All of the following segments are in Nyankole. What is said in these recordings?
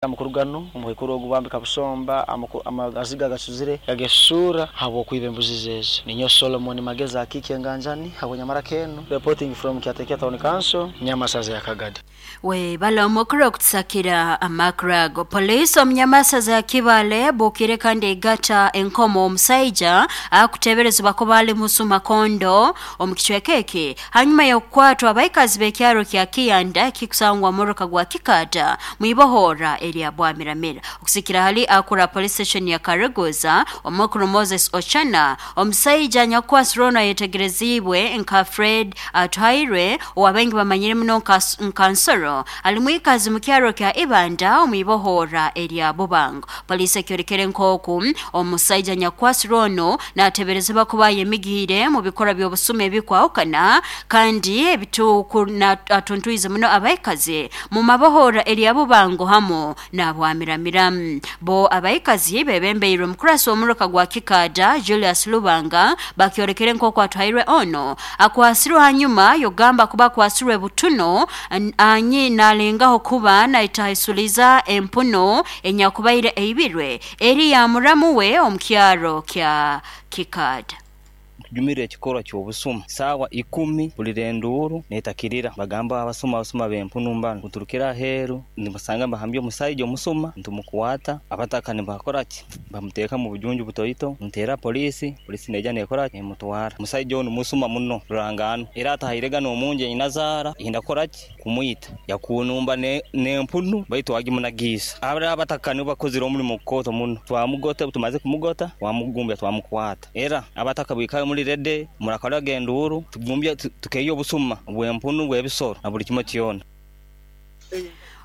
Amakuru ganu omukaikuru ogu bambi Kabusomba amaziga gacuzire gagesuura habw'okwiba embuzi ze ezo. Ninyowe Solomon Magezi Akiiki Enganjani habw'Nyamara Kenu reporting from Kyatekia Town Council, Nyamasaza ya Kagadi. Webale omukuru okutusakira amakuru ago. Poliisi omu Nyamasaza ya Kibale ebuukire kandi eigata enkomo omusaija akuteeberezebwa kuba ali musuma kondo omu kicweka eki hanyuma y'okukwatwa abaikazi b'ekyaro kya Kiyanda ekikusangwa muruka gwa Kikaata mwibohoora erya Bwamiramira. Okusikira hali akura police station ya Kareguza omukuru Moses Ochana, omusaija anyakukwasirwe onu ayetegereziibwe nka Fred Atuhairwe owabaingi bamanyire muno nka Nsoro ali mwikazi mu kyaro kya Ibanda omwibohoora erya Bubango. Poliisi ekyolekere nk'oku omusaija anyakukwasirwe onu nateeberezebwa kuba ayemigiire mu bikorwa by'obusuma ebikwahukana kandi atuntwize muno abaikazi mu mabohoora erya Bubango hamu n'Abwamiramira. Bo abaikazi bebembeirwe omukurasi w'omuruka gwa Kikaada Julius Lubanga bakyolekere nk'oku Atuhairwe onu akwasirwe hanyuma y'okugamba kuba akwasirwe butuno anyi nalengaho kuba naitahaisuliza empunu enyakubaire eibirwe eri ya muramu we omu kyaro kya Kikaada. Tujumire ekikorwa ky'obusuma. Saawa ikumi mpulira enduuru neetakirira nibagamba abasuma abasuma b'empunu mbanu. Obu aheeru nibasanga nibahambya omusaija omusuma nitumukwata. Abataka nibakora ki? Bamuteeka omu bujunju butoito. Nteera poliisi, poliisi neija neekora ki? Nemutwara. Omusaija onu musuma muno rurangaanwa era atahairega n'omunju ei nazaara yenda kukora ki? Kumwita. Yakunumba n'empunu baitu agimunagiisa. Abataka nibo bakozire omurimo mukooto muno. Twamugota obu tumaze kumugota twamugumbya twamukwata. Era abataka bwikare muri rede murakoraga enduuru tugumbye tukeeya obusuma bw'empunu bw'ebisoro na buri kimwe kyona.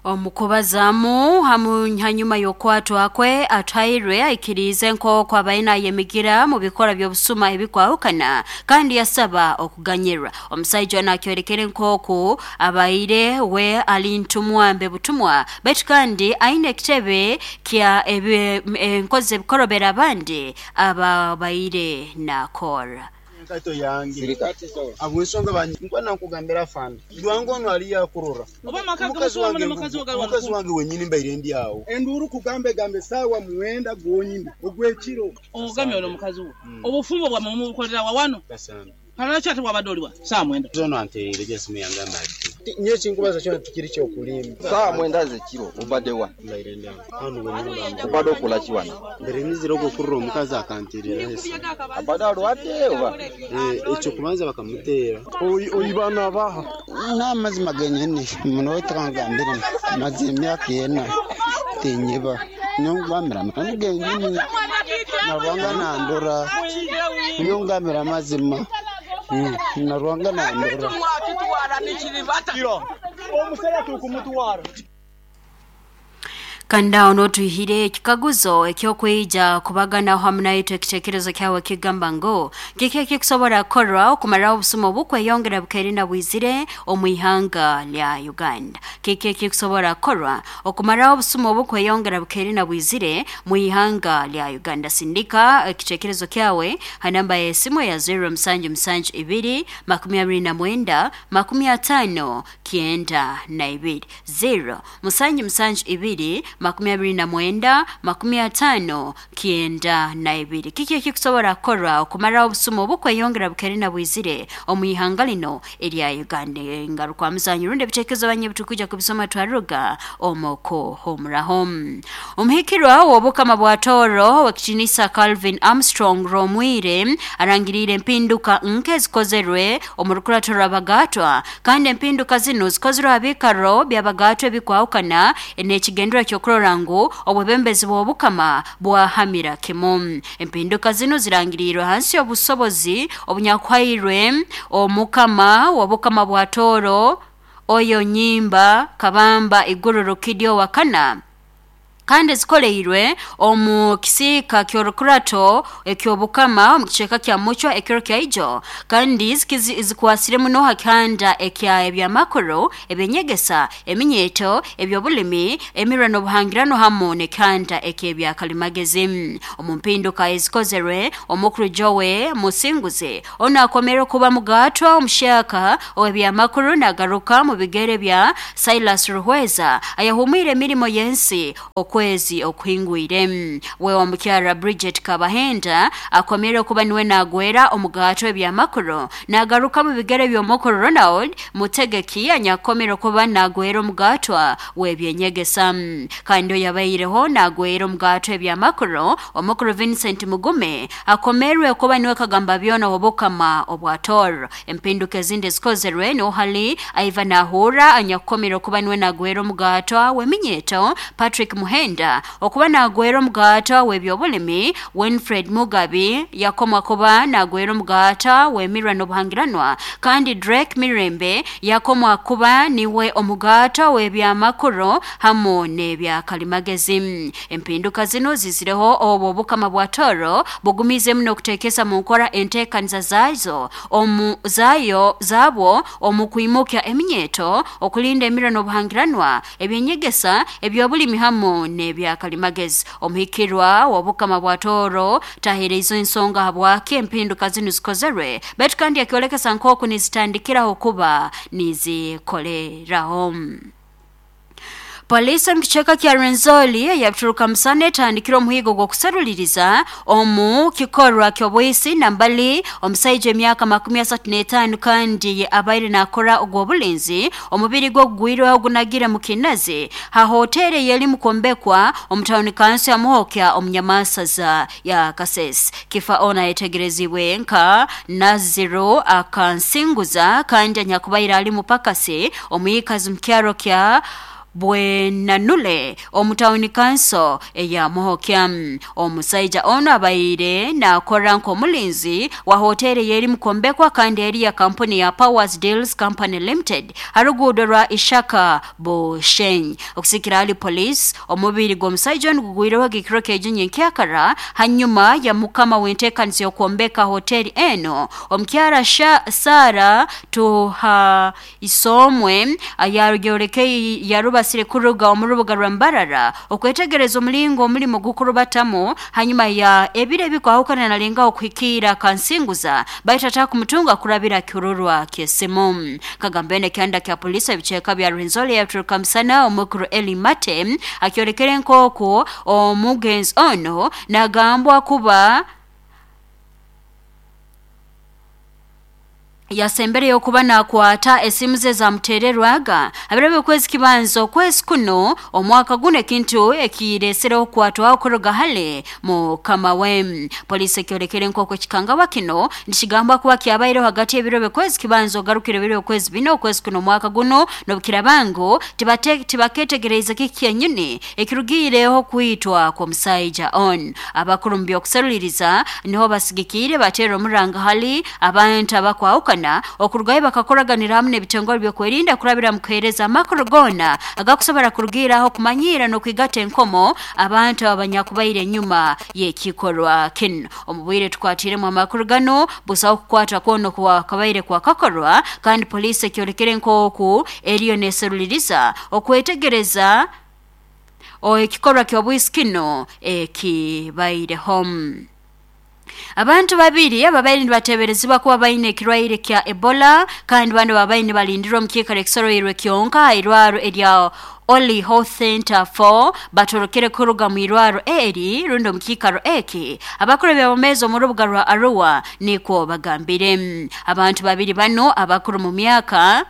Omu kubazaamu hamu hanyuma y'okukwatwa kwe, Atuhairwe aikiriize nk'oku abaire nayemigira mu bikorwa by'obusuma ebikwahukana kandi yasaba okuganyirwa. Omusaija onu akyolekere nk'oku abaire we ali ntumwa mbe butumwa baitu kandi aine ekitebe kya enkozi z'ebikorobero abandi ababaire nakorra. Enkaito yange habw'ensonga nkuba nankugambira afande Lwanga onu aliyo akurora mukazi wange mukazi wange wenyini mbaire ndi awo. Enduuru kugamba egamba esaawa mwenda gonyini ogw'ekiro. Ogamye ono mukazi wo obufumbo bwamwe mubukolera wa wano? Kale lwaki ate wabadde oli wa saawa mwenda? Ono antereire gye esimu yangamba ati nyowe ekinkubaza kyona tikiri ky'okulimba. Saawa mwenda z'ekiro obadde wa? Mbaire ndi awo hanu wenyini. Obadde okola ki wano? Mbaire nyizire okwo kurora omukazi akanteereraho esimu. Abadde alwadde oba? Ekyo kubanza bakamuteera. Oiba nabaha? N'amazima genyini muno tikangambire maze emyaka ena tinyiba nyowe amani genyini na Ruhanga nandora nyowe ngambira amazima na Ruhanga nandora. Omusajja tukumutwara. Kandi aho n'otwihire ekikaguzo eky'okwija kubaganaho hamu naitwe ekiteekerezo kyawe kigamba ngu kiki ekikusobora kukorwa okumaraho obusuma obukweyongera bukaire bwizire omu ihanga lya Uganda. Kiki ekikusobora kukorwa okumaraho obusuma obukweyongera bukaire bwizire mu ihanga lya Uganda. Sindika ekiteekerezo kyawe ha namba y'esimu ya 0772 29 50 92 0 772 29 50 92. Kiki ekikusobora kukorwa okumaraho obusuma obukweyongera bukaire bwizire omu ihanga lino erya Uganda. Ngaruka muzanyu rundi ebitekerezo banye bitukuja kubisoma twaruga omoko homuraho. Omuhikirwa w'obukama bwa Toro w'ekitinisa Calvin Armstrong Romwire arangiriire empinduka nke ezikozerwe omu rukurato rw'abagatwa kandi empinduka zino zikozerwe abikaro by'abagatwa ebikwahukana n'ekigendererwa ky'okurora ngu obwebembezi bw'obukama bwahamira kimu. Empinduka zino zirangiriirwe hansi y'obusobozi obunyakuhairwe omukama w'obukama bwa Toro oyo Nyimba Kabamba Iguru Rukidyo Wakana Kandi zikoleirwe omu kisiika ky'orukurato eky'obukama omu kicweka kya Mucwa ekiro kya ijo, kandi zikwasire muno ha kihanda ekya ebyamakuru, ebyenyegesa, eminyeeto, ebyobulimi, emirwa n'obuhangirano hamu n'ekihanda eky'ebyakalimagezi. Omu mpinduka ezikozerwe, omukuru Joe Musinguzi onu akomere kuba mugaatwa omuhyaka ow'ebyamakuru nagaruka mu bigere bya Silas Ruhweza ayahumwire emirimo y'ensi okwezi okuhingwire. We omukyara Bridget Kabahenda akomere kuba niwe nagwera omugato ebyamakuru nagaruka mu bigere by'omukuru Ronald Mutegeki anyakomere kuba nagwera omugatwa w'ebyenyegesa. Kandi oyabaireho nagwera omugato ebyamakuru omukuru Vincent Mugume akomerwe kuba niwe kagamba byona obukama obwa Tor. Empinduka ezindi ezikozerwe niho hali Ivan Ahura anyakukomere kuba niwe nagwera omugatwa w'eminyeeto, Patrick Muhenda okuba nagwera omugaata w'ebyobulimi, Winfred Mugabi yakomwa kuba nagwera omugaata w'emirwa n'obuhangiranwa, kandi Drake Mirembe yakomwa kuba niwe omugaata w'ebyamakuru hamu n'ebyakalimagezi. Empinduka zino zizireho obwo obukama bwa Toro bugumiizemu n'okuteekesa mu nkora enteekaniza zazo omu zayo zabwo omu kwimukya eminyeeto, okulinda emirwa n'obuhangiranwa, ebyenyegesa, ebyobulimi hamu n'ebyakalimagezi. Omuhikirwa w'obukama bwa Toro taheereize ensonga habwaki empinduka zinu zikozerwe, baitu kandi akyolekesa nk'oku nizitandikiraho kuba nizikoleraho. Polisi omu kicweka kya Rwenzori eyaturuka musana etandikire omuhigo gw'okuseruliriza omu kikorwa ky'obwisi nambali omusaija emyaka 35 kandi abaire nakora ogw'obulinzi omubiri gwe gugwirweho gunagire mu kinazi ha hoteri eyeri mukwombekwa omu tawuni kanso ya Muhokya omu Nyamasaza ya Kasese. Kifa ono ayetegerezibwe nka Naziro Akansinguza kandi anyakubaire ali mupakasi omwikazi mu kyaro kya Bwenanule omu tawuni kanso eya Muhokya. Omusaija ono abaire nakora nk'omulinzi wa hoteri eyeri mukwombekwa kandi eri ya kampuni ya Powers Deals Company Limited ha ruguudo rwa Ishaka Bushenyi. Okusikira hali police, omubiri gw'omusaija onu gugwireho ekiro ky'ejinyi nkyakara hanyuma ya mukama w'enteekaniza y'okwombeka hoteri eno omukyara Sara Tuhaisomwe yarubasire kuruga omu rubuga rwa Mbarara okwetegereza omulingo omulimo gukurubatamu hanyuma ya ebiro ebikwahukana nalengaho kuhikiira Kansinguza baitu atakumutunga kurabira kirurwa ky'esimu. Kagambene kyanda kya polisi ebicweka bya Rwenzori yaturuka musana omukuru Eli Mate akyolekere nk'oku omugenzi ono nagambwa kuba yasembereyo okuba nakwata esimu ze zamutererwaga abirabe okwezi kibanza okwezi kuno omwaka guno, ekintu ekiresereho okukwatwaho kuruga hale mukama we. Polisi ekyolekere nk'oku ekikangabwa kino nikigambwa kuba kyabaireho hagati y'ebiro by'okwezi kibanza ogarukire ebiro by'okwezi bina okwezi kuno omwaka guno, n'obukiraba ngu tibaketegereize kiki kyenyini ekirugiireho kwitwa kw'omusaija on. Abakuru mu by'okuseruliriza niho basigikiire bateera omuranga hali abantu abakwahukana okurugayo bakakoraganira hamu n'ebitongole by'okwerinda kurabira mu kuheereza amakuru goona agakusobora kurugiiraho kumanyiira n'okwigata enkomo abantu abanyakubaire enyuma y'ekikorwa kinu. Omu bwire tukwatiremu amakuru gano, busaho kukwata kwona okwakabaire kwakakorwa, kandi poliisi ekyolekere nk'oku eriyo neseruliriza okwetegereza ekikorwa ky'obwisi kino ekibaireho. Abantu babiri ababaire nibateeberezibwa kuba baine ekirwaire kya Ebola kandi bano babaire nibalindirwa omu kiikaro ekisoroirwe kyonka ha irwaro erya Oli Health Center 4 batorokere kuruga mu irwaro eri rundi omu kiikaro eki. Abakuru eby'abomeezi omu rubuga rwa Arua nikwo bagambire. Abantu babiri bano abakuru mu myaka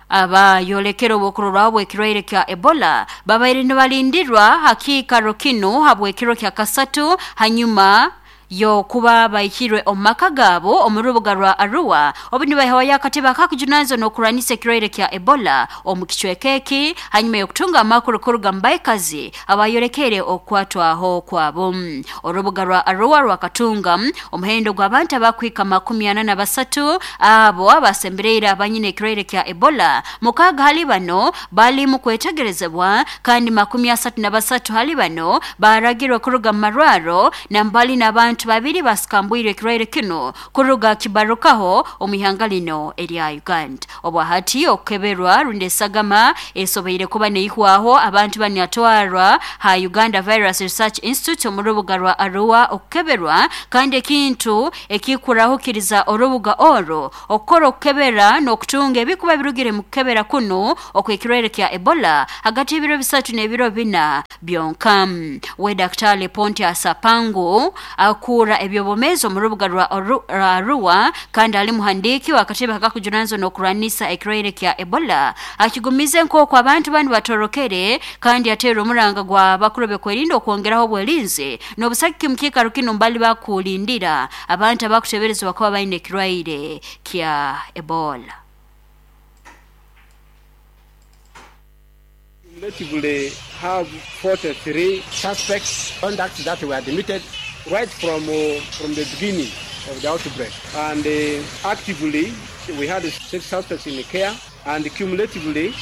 abayolekere obwokurorwaho bw'ekirwaire kya Ebola babaire nibalindirwa ha kiikaro kinu habw'ekiro kya kasatu hanyuma Yokuba bahikirwe omu maka gaabo omu rubuga rwa Arua obu nibahewayo akatebe akakujunanizibwa n'okurwanisa ekirwaire kya Ebola omu kicweka eki hanyuma y'okutunga amakuru kuruga mu baikazi abayolekere okukwatwaho kwabo. Orubuga rwa Arua rwakatunga omuhendo gw'abantu abakwika 43 abo abasembereire abanyine ekirwaire kya Ebola. 6 hali bano bali mu kwetegerezebwa kandi 33 hali bano baragirwe kuruga mu marwaro na mbali n'abantu 2 basikambwire ekirwaire kino kuruga kibarukaho omu ihanga lino erya Uganda. Obwahati okukeberwa rundi esagama esobeire kuba neihwaho abantu banyatwarwa ha Uganda Virus Research Institute omu rubuga rwa Arua okukeberwa, kandi ekintu ekikurahukiriza orubuga orwo okukora okukebera n'okutunga ebikuba birugire mu kukebera kuno okw'ekirwaire kya Ebola hagati y'ebiro 3 n'ebiro 4 byonka. We Daktari Pontius Apangu akura ebyobomezi omu rubuga rwa Arua kandi ali muhandiiki w'akatebe akakujunanizibwa n'okurwanisa ekirwaire kya Ebola akigumize nk'oku abantu banu batorokere kandi ateera omuranga gwa bakuru bekwerinda okwongeraho obwerinzi n'obusagiki mu kiikaro kinu mbali bakulindira abantu abakuteberezebwa kuba baine ekirwaire kya Ebola. Cumulatively have 43 suspects contacts that were admitted right from the beginning of the outbreak, and actively we had 6 suspects in care, and cumulatively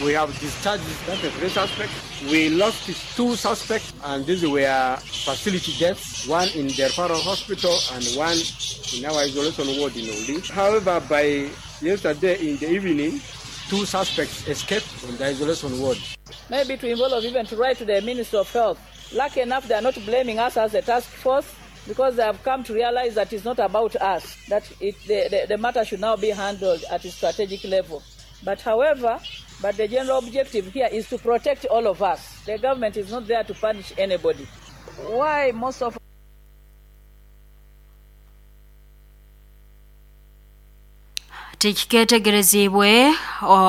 we have discharged 33 suspects. We lost 2 suspects, and these were facility deaths, one in the referral hospital and one in our isolation ward in Oli. However, by yesterday in the evening, 2 suspects escaped from the isolation ward. Maybe to involve even to write to the Minister of Health. Lucky enough, they are not blaming us as a task force, because they have come to realize that it's not about us, that the matter should now be handled at a strategic level. But however, the general objective here is to protect all of us. The government is not there to punish anybody. Why most of Tikiketegerezibwe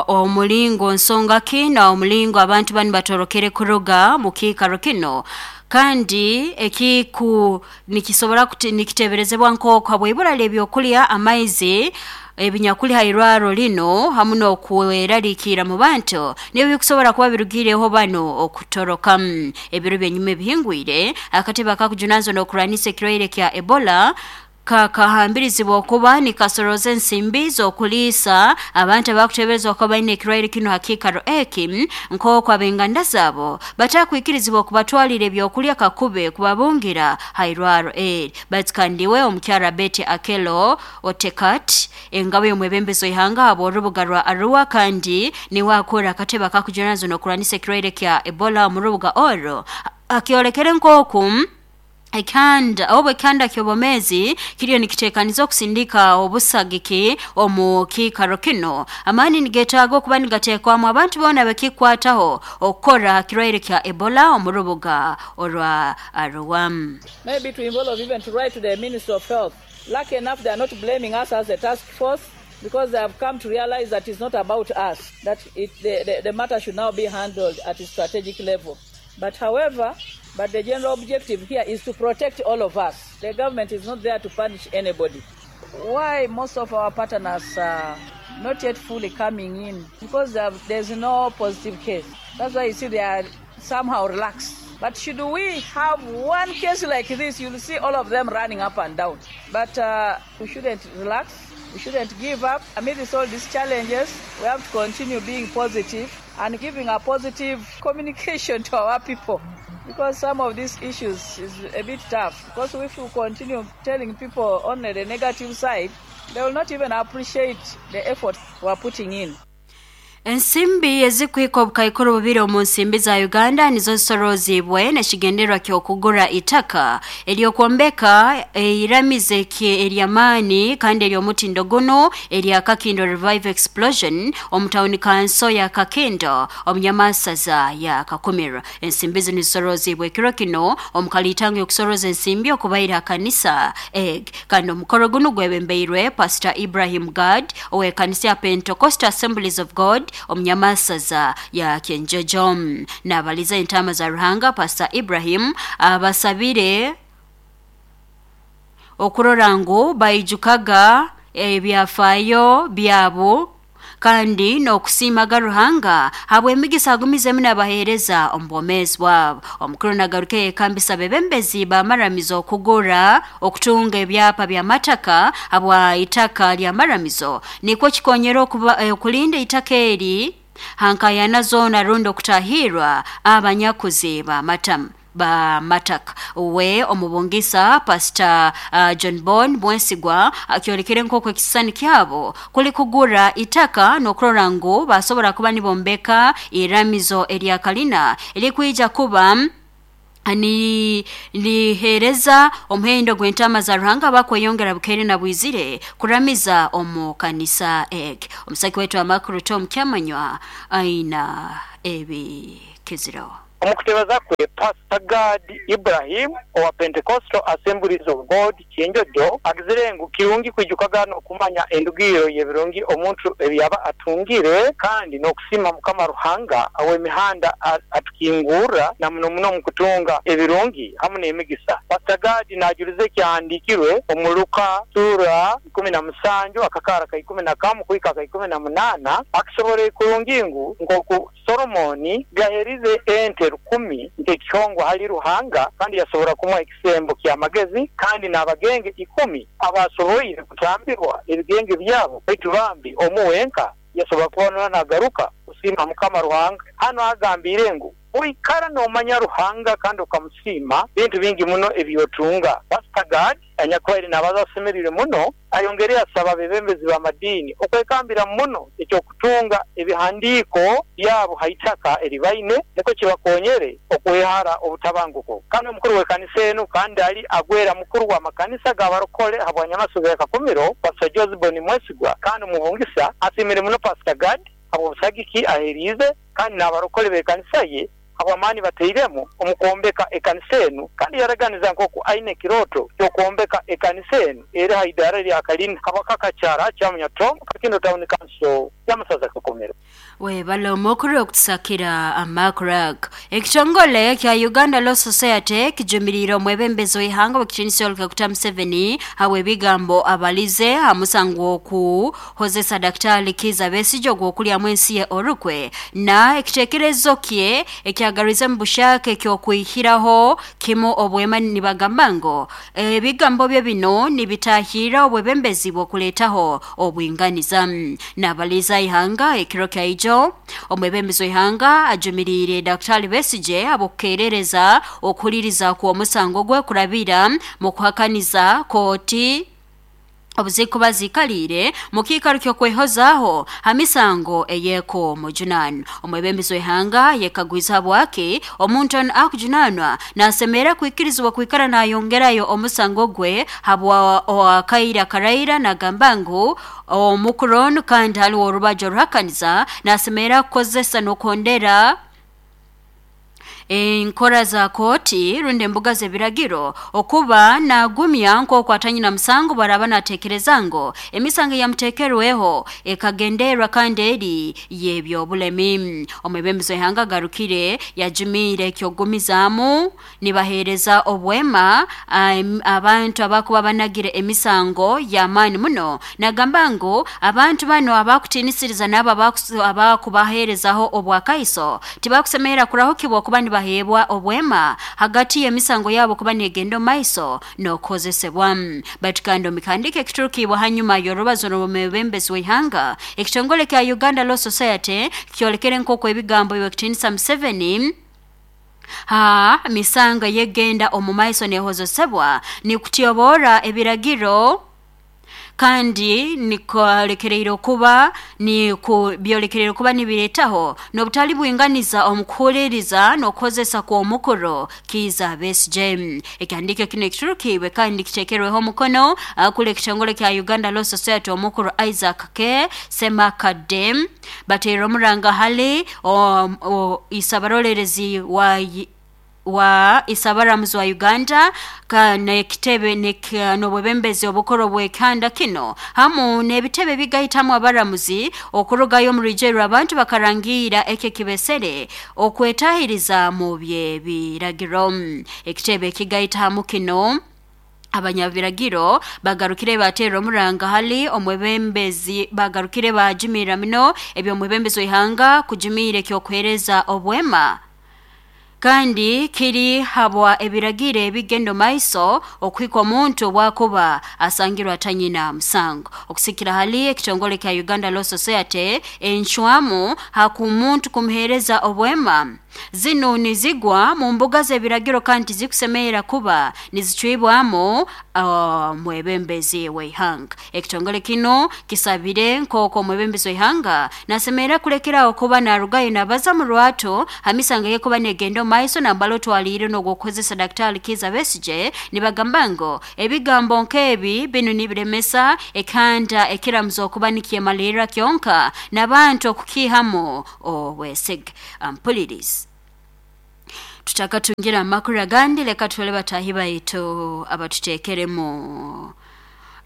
omulingo nsonga ki na omulingo abantu bani batorokere kuruga mu kiikaro kino, kandi ekiku nikisobora nikiteberezebwa nk'oku habw'ibura ly'ebyokulya, amaizi, ebinyakuli hairwaro lino hamu n'okweraliikirra mu bantu nibyo bikusobora kuba birugireho bano okutoroka. Ebiro byenyuma ebihingwire akatebe akakujunanizibwa n'okurwanisa ekirwaire kya Ebola kakahambirizibwa okuba nikasoroza ensimbi z'okuliisa abantu abakuteberezebwa kuba baine ekirwaire kino ha kiikaro eki, nk'oku ab'enganda zaabo batakwikirizibwa okubatwalira ebyokulya kakube kubabungira ha irwaro eri. Baitu kandi we omukyara Betty Akello Otekat engabo y'omwebembezi w'ihanga habw'orubuga rwa Arua kandi niwe akora akatebe akakujunanizibwa n'okurwanisa ekirwaire kya Ebola omu rubuga orwo akyolekere nk'oku ekanda obu ekanda ky'obomezi kiriyo nikitekaniza okusindika obusagiki omu kiikaro kino. Amaani nigetaaga okuba nigateekwamu abantu boona bakikwataho okukora kirwaire kya Ebola omu rubuga orwa Arua. Maybe to involve even to write to the Minister of Health. Lucky enough, they are not blaming us as a task force, because they have come to realize that it's not about us, that the matter should now be handled at a strategic level. But however, the general objective here is to protect all of us. The government is not there to punish anybody. Why most of our partners are not yet fully coming in? Because there's no positive case. That's why you see they are somehow relaxed. But should we have one case like this, you'll see all of them running up and down. But we shouldn't relax. We shouldn't give up. Amidst all these challenges, we have to continue being positive and giving a positive communication to our people. Because some of these issues is a bit tough. Because if we continue telling people only the negative side, they will not even appreciate the effort we are putting in. Ensimbi ezikuhika obukaikuru bubiri omu nsimbi za Uganda nizo zisorozibwe n'ekigendererwa ky'okugura itaka ery'okwombeka eiramize ery'amaani kandi ery'omutindo guno erya Kakindo Revive Explosion omu tawuni kanso ya Kakindo omu nyamasaza ya Kakumiro. Ensimbi zino zisorozibwe ekiro kino omu kalitango y'okusoroza ensimbi okubaira kanisa egg, kandi omukoro guno gwebembeirwe Pastor Ibrahim Gad ow'ekanisa ya Pentecostal Assemblies of God omunyamasaza ya Kenjojo. Nabaliza entama za Ruhanga Pastor Ibrahim abasabire okurora ngu baijukaga ebyafaayo byabo kandi n'okusiimaga Ruhanga habw'emigisa agumizemu n'abaheereza omu bwomeezi bwabo. Omukuru nagaruka yekambisa bebembezi b'amaramizo okugura okutunga ebyapa by'amataka habwa itaka ly'amaramizo nikwo kikonyera okulinda itaka eri hankayana zoona rundi okutahirwa abanyakuzi b'amatamu bamataka. We omubungisa Pastor John Bon Mwesigwa akyolekere nk'oku ekisisani kyabo kuli kugura itaka n'okurora ngu basobora kuba nibombeka iramizo erya kalina erikwija kuba niheereza omuhendo gw'entaama za Ruhanga abakweyongera bukeire na bwizire kuramiza omu kanisa egi. Omusaki waitu amakuru Tom Kyamanywa aina ebikiziro. Omu kutebaza kwe, Pasita Gad Ibrahim owa Pentecostal Assemblies of God Kyenjojo agizire ngu kirungi kwijukaga n'okumanya endugiriro y'ebirungi omuntu ebi yaba atungire kandi n'okusiima Mukama Ruhanga ow'emihanda atukingurra na muno muno omu kutunga ebirungi hamu n'emigisa. Pasita Gad najuliza ekyahandiikirwe omu Luka sura 17 akakaara ka 11 kuhika aka 18 akisoboreye kurungi ngu nk'oku Solomooni yaherize ente rukumi nk'ekihongwa hali Ruhanga, kandi yasobora kumuha ekisembo ky'amagezi, kandi n'abagenge ikumi abaasoboire kutambirwa ebigenge byabo, baitu bambi omu wenka yasobora kuba nagaruka kusiima Mukama Ruhanga. Hanu agambiire ngu oikara noomanya Ruhanga kandi okamusiima, bintu bingi muno ebi otunga. Pasita Gad anyakubaire naabaza asemerire muno, ayongere yasaba abebembezi b'amadiini okwekambira muno eky'okutunga ebihandiiko byabo ha itaka eri baine nukwo kibakonyere okwehara obutabanguko. Kandi omukuru w'ekanisa enu kandi ali agwera mukuru w'amakanisa g'abarokole habwa Nyamasozi ya Kakumiro, Pastor Josbon Mwesigwa kandi omubungisa asiimire muno Pastor Gad habw'obusagiki aheriize kandi n'abarokole b'ekanisa ye habw'amaani batairemu omu kwombeka ekanisa enu kandi yaraganiza nk'oku aine ekirooto ky'okwombeka ekanisa enu eri ha idaara erya kalina Kabaka-Kakyara Kyamunya Tom, Kakindo Town Council y'amasaza Kakumiro. Webale omukuru okutusakira amakuru ago. Ekitongole kya Uganda Law Society kijumiriire omwebembezi w'ihanga ow'ekitiinisa Yoweri Kaguta Museveni habw'ebigambo abalize ha musango gw'okuhozesa Daktari Kiiza Besigye ogw'okulyamu ensi ye orukwe na ekiteekerezo kye ekyagarwize mu bushaka eky'okwihiraho kimu obwema nibagamba ngu ebigambo bye binu nibitahirra obwebembezi bw'okuleetaho obwinganiza. Nabaliza ihanga ekiro kyaijo, omwebembezi w'ihanga ajumiriire Daktari Besigye habw'okukerereza okuhuliriza kw'omusango gwe kurabira mu kuhakaniza kooti obuzikuba ziikaliire mu kiikaro ky'okwehozaaho ha misango ey'ekumujunaanwa. Omwebembezi w'ihanga yekagwize habwaki omuntu onu akujunaanwa naasemerra kwikirizibwa kwikara naayongerayo omusango gwe habwa akaire akaraira nagamba ngu omukuru onu kandi haliwo orubaju oruhakaniza naasemerra kukozesa n'okuhondera enkora za kooti rundi embuga z'ebiragiro okuba naagumya nk'oku atanyina musango bwaraaba naateekereza ngu emisango eyamuteekerweho ekagenderwa kandi eri y'eby'obulemi. Omwebembezi w'ihanga agarukire yajumiire eky'okugumizaamu nibaheereza obwema abantu abakuba banagire emisango y'amaani muno nagamba ngu abantu banu abakutiinisiriza n'abo abakubaheerezaho obwakaiso tibakusemerra kurahukibwa kuba nibaheebwa obwema hagati y'emisango yabo kuba negenda omu maiso n'okukozesebwa. Baitu kandi omu kihandiiko ekiturukiibwe hanyuma y'orubazo rw'omwebembezi w'ihanga, ekitongole kya Uganda Law Society kyolekere nk'oku ebigambo by'owekitiinisa Museveni ha misango ey'egenda omu maiso neehozesebwa nikutyoboora ebiragiro kandi nikolekereire kuba byolekereire kuba nibireetaho n'obutali bwinganiza omu kuhuliiriza n'okukozesa kw'omukuru Kiiza Besigye. Ekihandiiko kinu ekiturukiibwe kandi kiteekerweho omukono akuli ekitongole kya Uganda Law Society omukuru Isaac K. Ssemakadde bateerera omuranga hali isabarolerezi wa isabaramuzi wa Uganda n'ekitebe n'obwebembezi obukuru obw'ekihanda kino hamu n'ebitebe ebigaitamu abaramuzi okurugayo omu rwijeru abantu bakarangiira eki ekibesere okwetahiriza mu by'ebiragiro. Ekitebe ekigaita hamu kino Abanyabiragiro bagarukire baterera omuranga hali omwebembezi, bagarukire bajumirira muno eby'omwebembezi w'ihanga kujumiire ekyokuheereza obwema kandi kiri habwa ebiragiro ebigenda maiso okuhika omuntu obwakuba asangirwe atanyina musango. Okusikira hali ekitongole kya Uganda Law Society, enshwamu hakumuntu kumuheereza obwema zinu nizigwa mu mbuga z'ebiragiro kandi zikusemerera kuba nizicwibwamu mwebembezi w'ihanga. Ekitongole kino kisabire nk'oku omwebembezi w'ihanga nasemerera kulekeraho kuba narugayo nabaza mu rwato hamisanga yekuba negenda omu maiso nambala otwaliire n'ogw'okukozesa Daktari Kiza Besigye. Nibagamba ngu ebigambo nk'ebi binu nibiremesa ekanda ekiramuza okuba nikyemalirra kyonka n'abantu okukiihamu obwesige. Ampulirizi, tutakatungira amakuru agandi, leka tutwale bataahi baitu abatuteekeremu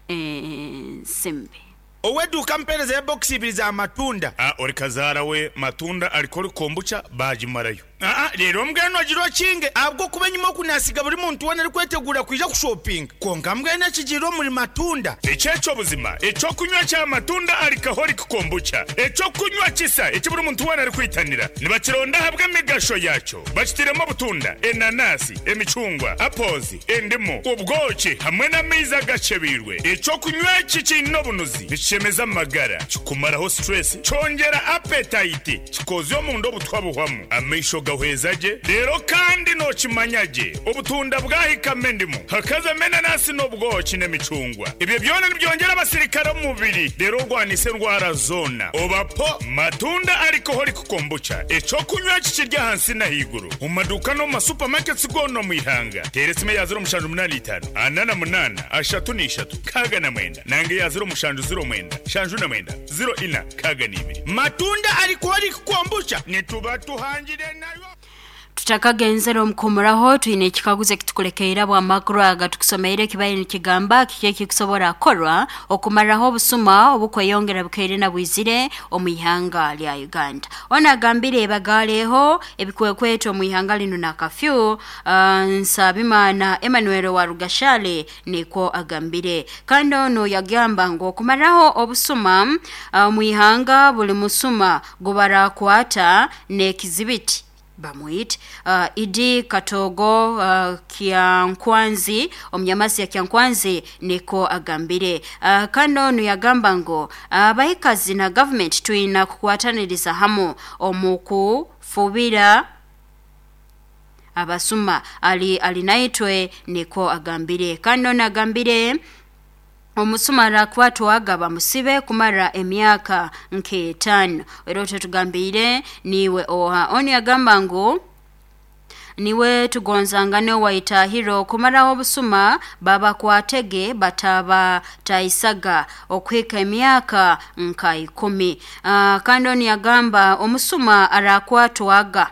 ensimbi. Ow'eduuka ampeereza ya bokisi ibiri za matunda. A Ori kazaara we matunda arikora kombucha baagimarayo. Aa Reero mbwenu ogire okinge ahabw'okuba enyima oku naasiga buri muntu weena arikweteguura kwija kushopinga. Kwonka mbwenu ekigiire omuri matunda. Eki eky'obuzima, eky'okunywa kya matunda alcoholic kombucha, eky'okunywa kisa eki buri muntu weena arikwitanira. Nibakironda ahabw'emigasho yaakyo. Bakitairemu obutunda, enanasi, emicungwa, apples, endimu, obwoki hamwe n'amaizi agakyebeirwe. Eky'okunywa eki kiine obunuzi, nikishemeza amagara, kikumaraho stress, kyongyera appetite, kikoozya omunda obutwa buhwamu, amaisho gahweza gye, reero kandi nookimanya gye obutunda bwahikamu endimu, hakazamu enanasi n'obwoki n'emicungwa. Ebyo byona nibyongyera abasirikare omu mubiri reero orwanise endwara zoona. Oba po Matunda Alcoholic Kombucha, eky'okunywa eki kiri ahansi n'ahaiguru omu maduuka n'omu ma supermarkets goona omu ihanga. Teera esimu eya 0785 48 33 69 nanga eya 0709 79 04 62. Matunda Alcoholic Kombucha nituba tuhangire nayo. Tutakagenzere omu kuhumuraho, twine ekikaguzo ekitukulekeire abw'amakuru aga tukusomeire ekibaire nikigamba kiki ekikusobora kukorwa okumaraho obusuma obukweyongera bukaire na bwizire omu ihanga lya Uganda. Ono agambire bagaaleho ebikwekweto omu ihanga linu na kafyu. Nsabimana Emmanuel wa Rugashale nikwo agambire. Kandi ono yagamba ngu okumaraho obusuma omu ihanga buli musuma gubarakwata n'ekizibiti bamwite. Idi Katogo Kyankwanzi omunyamasi ya Kyankwanzi niko agambire. Kandi onu yagamba ngu abaikazi na gavumenti twina kukwataniriza hamu omu kufubira abasuma. Ali alinaitwe niko agambire. Kandi onu agambire omusuma arakwatwaga bamusibe kumara emyaka nk'etaano. Era otetugambire niiwe oha. Onu yagamba ngu niwe tugonzangane waitahiro kumaraho obusuma babakwatege batabataisaga okuhika emyaka nka 10. Kandi onu yagamba omusuma arakwatwaga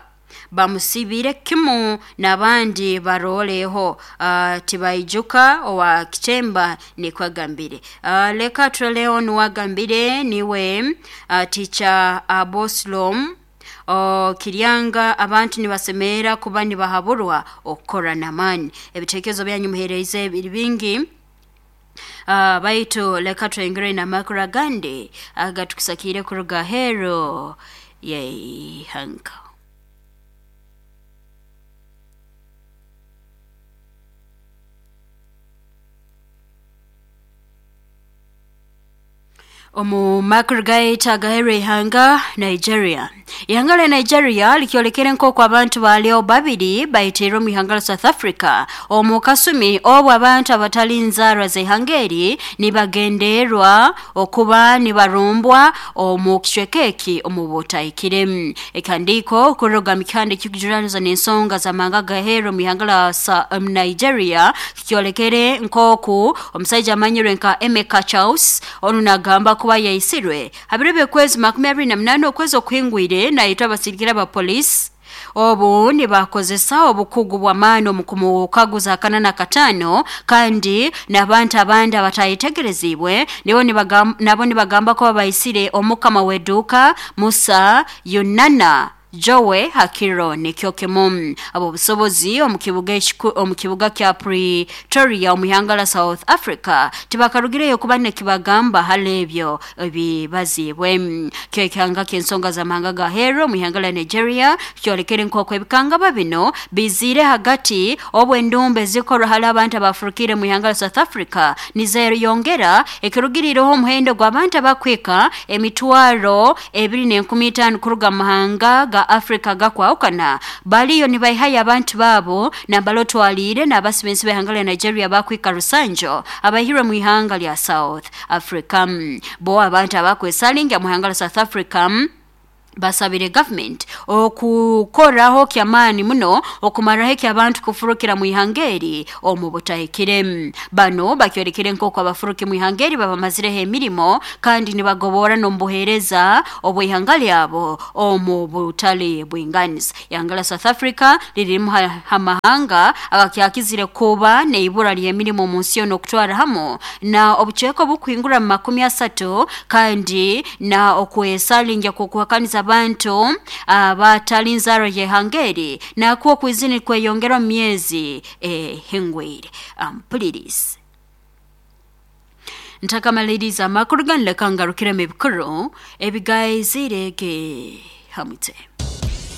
bamusibire kimu n'abandi baroleho tibaijuka owa kitemba nikwagambire. Leka turoleo nuwagambire niwe ticha Aboslom Kiryanga abantu nibasemerera kuba nibahaburwa okukora n'amaani. Ebitekerezo byanyu muheereze biri bingi. Baitu leka twengere n'amakuru agandi agatukusakire kuruga hero yeihanga. Omu makuru gaitu agaheerwa ihanga Nigeria. Ihanga lya Nigeria likyolekere nk'oku abantu baalyo babiri baitiirwe omu ihanga lya South Africa omu kasumi obu abantu abatali nzaarwa z'ihanga eri nibagenderwa okuba nibarumbwa omu kicweka eki omu butahikire. Ekihandiiko kuruga mu kihanda ekikujuraniza n'ensonga z'amahanga agaheerwa omu ihanga lya Nigeria kikyolekere nk'oku omusaija amanyirwe nka Emeka Charles onu nagamba kuba yaisirwe habiro by'okwezi 28 okwezi okuhingwire naitwa abasirikare aba polisi obu nibakozesa obukugu bw'amaani omu kumukaguza 45 kandi n'abantu abandi abatayitegerezibwe nibo nabo nibagamba ko babaisire omukama w'eduuka Musa Yunana Joe hakiro nikyo kimu. Abobusobozi omu kibuga omu kibuga kya Pretoria omu ihanga la South Africa tibakarugireyo kuba nekibagamba hali ebyo ebibazibwe. Kyo ekihanga ky'ensonga z'amahanga ga Hero omu ihanga la Nigeria kyolekere nk'oku ebikangaba bino bizire hagati obwo endumba ezikorwa hali abantu abafurukire mu ihanga la South Africa nizeyongera, ekirugirireho omuhendo gw'abantu abakwika 2,015 kuruga mu mahanga ga Africa gakwahukana baliyo nibaihayo abantu babo nambalotwalire n'abasibensi b'ihanga lya Nigeria bakwika rusanjo abahirwe mu ihanga lya South Africa. Bo abantu abakwesalinga mu ihanga lya South Africa basabire government okukoraho kyamaani muno okumaraho eky'abantu kufurukira mu ihanga eri omu butahikire. Bano bakyorekere nk'oku abafuruki mu ihanga eri babamazireho emirimo kandi nibagobora n'omu buheereza obw'ihanga lyabo omu butali bwinganiza. Ihanga lya South Africa liririmu hamahanga agakyakizire kuba n'eibura ly'emirimo omu nsi yoona okutwara hamu na obucweka obukuhingura mu 30, kandi na okwesalinja kw'okuhakaniza abantu abatali nzaro y'ihanga eri nakwo okwizini kweyongera omu myezi ehingwire. Ampulirize, ntakamaliriza amakuru ganu, leka ngarukiremu ebikuru ebigaizire ge hamwitse.